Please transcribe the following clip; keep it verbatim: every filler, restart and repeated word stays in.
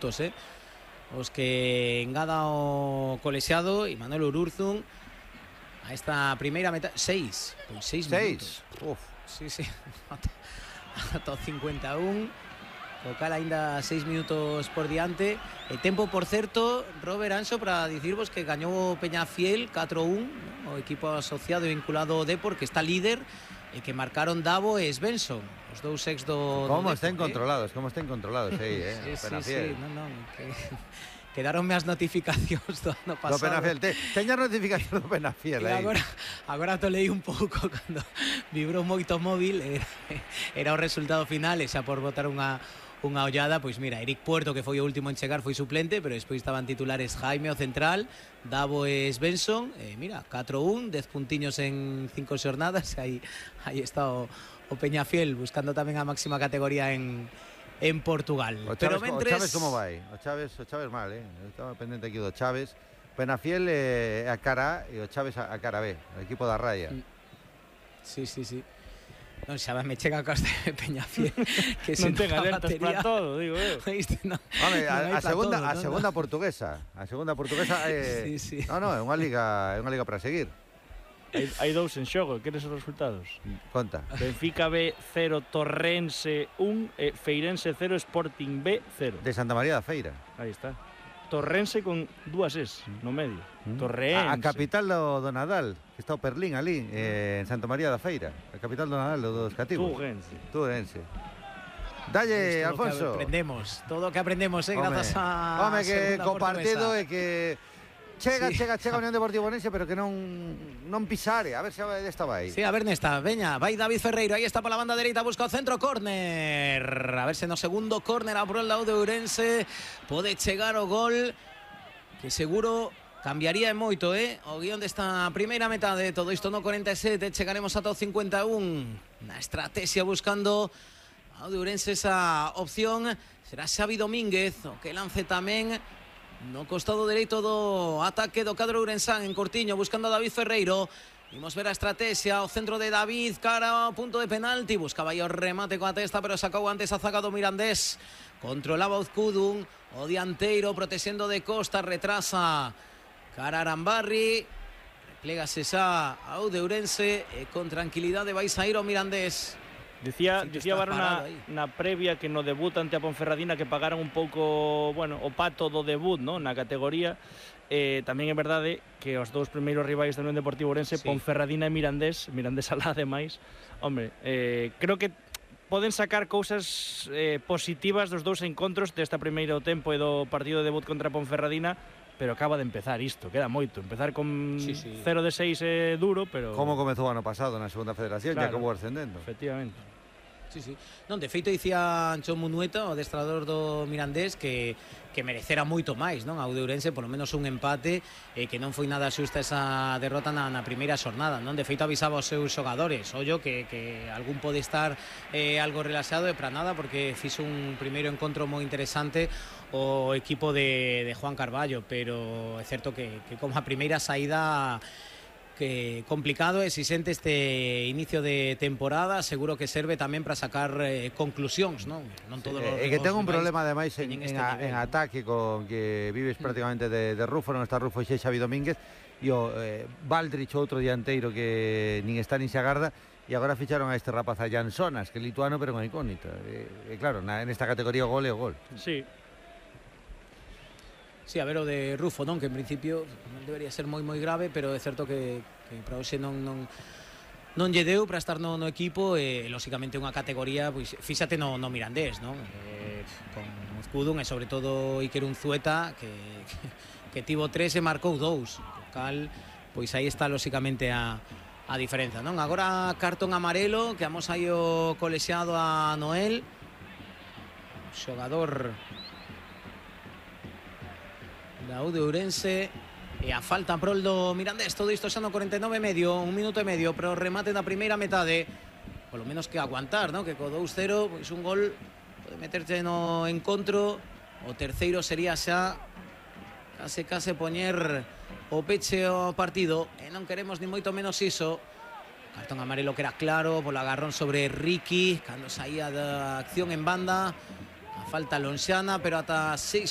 Eh? Os que engada o colexiado e Manuel Ururzun a esta primeira metade. Seis, pois seis minutos. Uf. Sí, sí. Ata cincuenta e un. O cal aínda seis minutos por diante. E tempo, por certo, Robert Anxo, para dicirvos que gañou o Peñafiel catro un, ¿no? O equipo asociado e vinculado ao Depor, que está líder, e que marcaron Davo e Svensson, os dous ex do... Como do estén Depor, controlados, eh? como estén controlados aí, eh? Sí, sí, sí, no, no, que... Quedaronme as notificacións do ano pasado. Do Peñafiel, te, teña notificación do Peñafiel aí. Agora, agora to leí un pouco cando vibrou moito o móvil, era, era o resultado final, e xa por botar unha unha ollada, pois mira, Eric Puerto, que foi o último en chegar, foi suplente, pero despois estaban titulares Jaime, o central, Davo e Svensson, e mira, catro un, dez puntiños en cinco xornadas, aí, aí está o, o Peñafiel, buscando tamén a máxima categoría en, en Portugal. O Chaves, pero mentres... o Chaves como vai? O Chaves, o Chaves mal, eh? Eu estaba pendente aquí do Chaves. Peñafiel é a cara A e o Chaves a cara B, o equipo da raya. Sí, sí, sí. Non xa me chega a costa de Peñafiel que non ten alertas para todo, digo eu. No, Home, no a, a segunda todo, a no, segunda no. portuguesa, a segunda portuguesa é sí, sí. No, no, é unha liga, é unha liga para seguir. Hai, hai dous en xogo, queres os resultados? Conta. Benfica B cero, Torrense un, e Feirense cero, Sporting B cero. De Santa María da Feira. Aí está. Torrense con dúas es no medio. Mm. Torrense. A, a capital do, do Nadal, que está o Perlín ali, eh, en Santa María da Feira. A capital do Nadal dos cativos. Turense. Turense. Dalle, todo Alfonso. Que aprendemos, todo o que aprendemos, eh, home, grazas a Home, que co partido é que chega, sí. chega, chega a Unión Deportiva Orense, pero que non non pisare, a ver se esta vai. Sí, a ver nesta, veña, vai David Ferreiro, aí está pola banda dereita, busca o centro, córner. A ver se no segundo córner a por el lado de Ourense pode chegar o gol, que seguro cambiaría moito, eh? O guión desta primeira metade, todo isto no cuarenta e sete, chegaremos ata o cincuenta e un. Na estrategia buscando ao de Ourense esa opción, será Xavi Domínguez, o que lance tamén no costado dereito do ataque do cadro ourensán, en cortiño, buscando a David Ferreiro. Vimos ver a estrategia, o centro de David cara ao punto de penalti, buscaba aí o remate coa testa, pero sacou antes a zaga do Mirandés. Controlaba Uzcudun, o dianteiro protexendo de costa, retrasa cara a Arambarri, replégase xa ao de Ourense e con tranquilidade vai sair o Mirandés. Dicía, dicía Varo na, na previa que no debut ante a Ponferradina que pagaran un pouco, bueno, o pato do debut, ¿no? Na categoría. Eh, tamén é verdade que os dous primeiros rivais da Unión Deportiva Ourense, sí. Ponferradina e Mirandés, Mirandés alá ademais, hombre, eh, creo que poden sacar cousas eh, positivas dos dous encontros desta primeiro tempo e do partido de debut contra a Ponferradina, pero acaba de empezar isto, queda moito. Empezar con sí, sí. cero de seis é duro, pero... Como comezou o ano pasado na segunda federación, claro, e acabou ascendendo. Efectivamente. Sí, sí. Non, de feito dicía Ancho Munueta, o adestrador do Mirandés, que, que merecera moito máis, non? Ao de Ourense, polo menos un empate, e que non foi nada xusta esa derrota na, na primeira xornada, non? De feito avisaba aos seus xogadores, ollo, que, que algún pode estar eh, algo relaxado, e para nada, porque fixo un primeiro encontro moi interesante o equipo de, de Juan Carballo, pero é certo que, que como a primeira saída... que complicado, e se sente este inicio de temporada, seguro que serve tamén para sacar eh, conclusións, non? Non todos sí, os é que ten un problema ademais en, en, este a, nivel, en ataque con que vives prácticamente de, de Rufo, non está Rufo e Xavi Domínguez, e o eh, Baldrich, outro dianteiro que nin está nin se agarda, e agora ficharon a este rapaz a Jansonas, que é lituano pero unha incógnita. E, e claro, na, nesta categoría o gol é o gol. Sí. Sí, a ver o de Rufo, non? Que en principio non debería ser moi moi grave, pero é certo que, que para hoxe non, non, non lle deu para estar no, no equipo, e lóxicamente unha categoría, pois fíxate no, no Mirandés, non? Eh, con Uzcudun e sobre todo Iker Unzueta, que, que, que tivo tres e marcou dous, o cal, pois aí está lóxicamente a, a diferenza, non? Agora cartón amarelo, que amos aí o colexiado a Noel, xogador da U de Ourense, e a falta prol do Mirandés. Todo isto xa no cuarenta e nove e medio, un minuto e medio pero o remate da primeira metade, polo menos que aguantar, ¿no? Que co dous cero, pois un gol pode meterse no encontro, o terceiro sería xa case case poñer o peche ao partido, e non queremos ni moito menos iso. Cartón amarelo que era claro polo agarrón sobre Ricky cando saía da acción en banda, a falta lonxana, pero ata seis